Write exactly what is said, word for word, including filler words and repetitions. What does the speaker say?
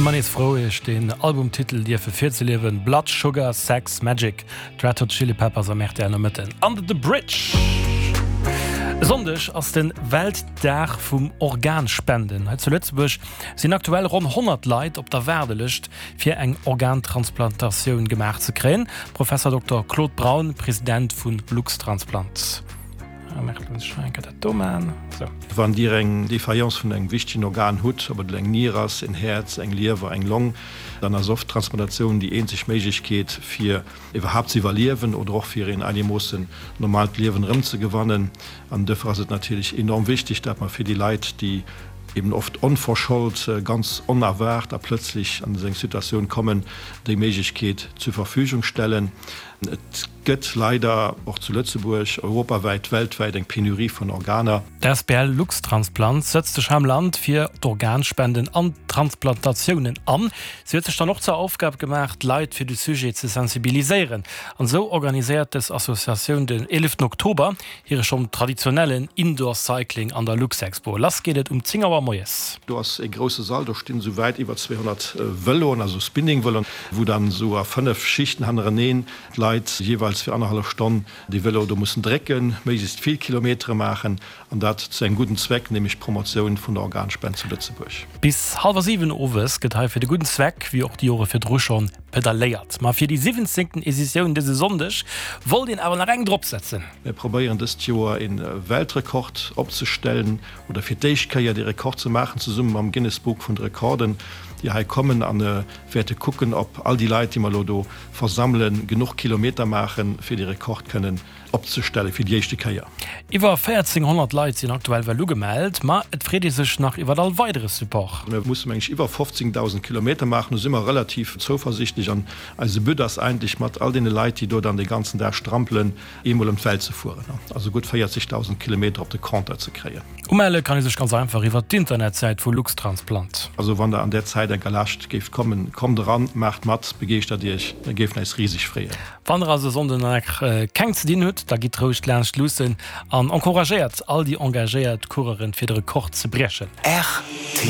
Ëmmer nees frou, iech den Albumtitel dierfe virzeliewen, Blood Sugar Sex Magik, d'Red Hot Chili Peppers am R T L Nomëtten. Under the Bridge. E Sonndeg ass de Weltdag vum Organspenden. Hei zu Lëtzebuerg sinn aktuell ronn honnert Leit op der Waardelëscht, fir eng Organtransplantatioun gemaach ze kréien. Professor Dokter Claude Braun, President vu Luxtransplant. Wann Dir eng Défaillance vun engem wichtegen Organ hutt, ob et elo eng Nier ass, en Häerz, eng Liewer, eng Long, dann ass oft d'Transplantatioun déi eenzeg Méiglechkeet fir iwwerhaapt ze iwwerliewen oder och fir een einermoossen normaalt Liewen erëmzegewannen. An duerfir ass et natierlech enorm wichteg, dat mer fir déi Leit, déi eben oft onverschold, ganz onerwaart a plëtzlech an esou eng Situatioun kommen, déi Méiglechkeet zur Verfügung stellen. Et gëtt leider och zu Lëtzebuerg, europawäit, weltwäit eng Penurie vun Organer. D'Asbl Luxtransplant sëtzt sech am Land fir d'Organspenden an d'Transplantatiounen an. Si huet sech dann och zur Aufgab gemaach, d'Leit fir de Sujet ze sensibiliséieren. An esou organiséiert dës Associatioun den eeleften Oktober hire schonn traditionellen Indoor Cycling an der Luxexpo. Lass geet et um zéng Auer moies. Do ass e grousse Sall, do stinn esou wäit iwwer zweehonnert Vëloen, also Spinning-Vëloen, wou dann esou a fënnef Schichten hannereneen d'Leit jeeweils fir annerhallef Stonn dee Vëlo do mussen drécken, méiglechst vill Kilometere maachen, an dat zu engem gudden Zweck, nämlech d'Promotioun vun der Organspend zu Lëtzebuerg. Bis hallwer siwen owes gëtt hei fir de gudden Zweck, wéi och déi Jore virdru schonn, pedalléiert. Ma fir déi siwwenzéngten Editioun dëse Sonndeg wollt een awer nach eng dropsetzen. Mir probéieren dëst Joer e Weltrekord opzestellen oder fir d'éischt Kéier dee Rekord ze maachen, zesumme mam Guinness Book vun de Rekorden, déi hei kommen a wäerte kucken, ob all déi Leit, déi mer elo do versammelen, genuch Kilometer maachen, fir dee Rekord kënnen opzestellen, fir déi éischte Kéier. Iwwer véierzénghonnert Leit sinn aktuell well ugemellt, ma et freet ee sech nach iwwer all weidere Support. Mir musse meng ech iwwer fofzéngdausend Kilometer maachen, do si mer relativ zouversichtlech an eise But ass eigentlech mat all deene Leit, déi do dann dee ganzen Dag strampelen, eemol ëm d'Welt ze fueren, also gutt véierzegdausend Kilometer op de Compteur ze kréien. Umelle kann ee sech ganz einfach iwwer d'Internetsäit vu Luxtransplant. Also wann der an där Zäit enker Laascht géift kommen, kommt eran, maacht mat, begeeschtert iech, mir géifen eis riseg freeën. Wann der also e Sonnden nach keng ze dinn hutt, da gitt roueg laanscht luussen an encouragéiert all déi engagéiert Coureuren fir de Rekord ze briechen. R T.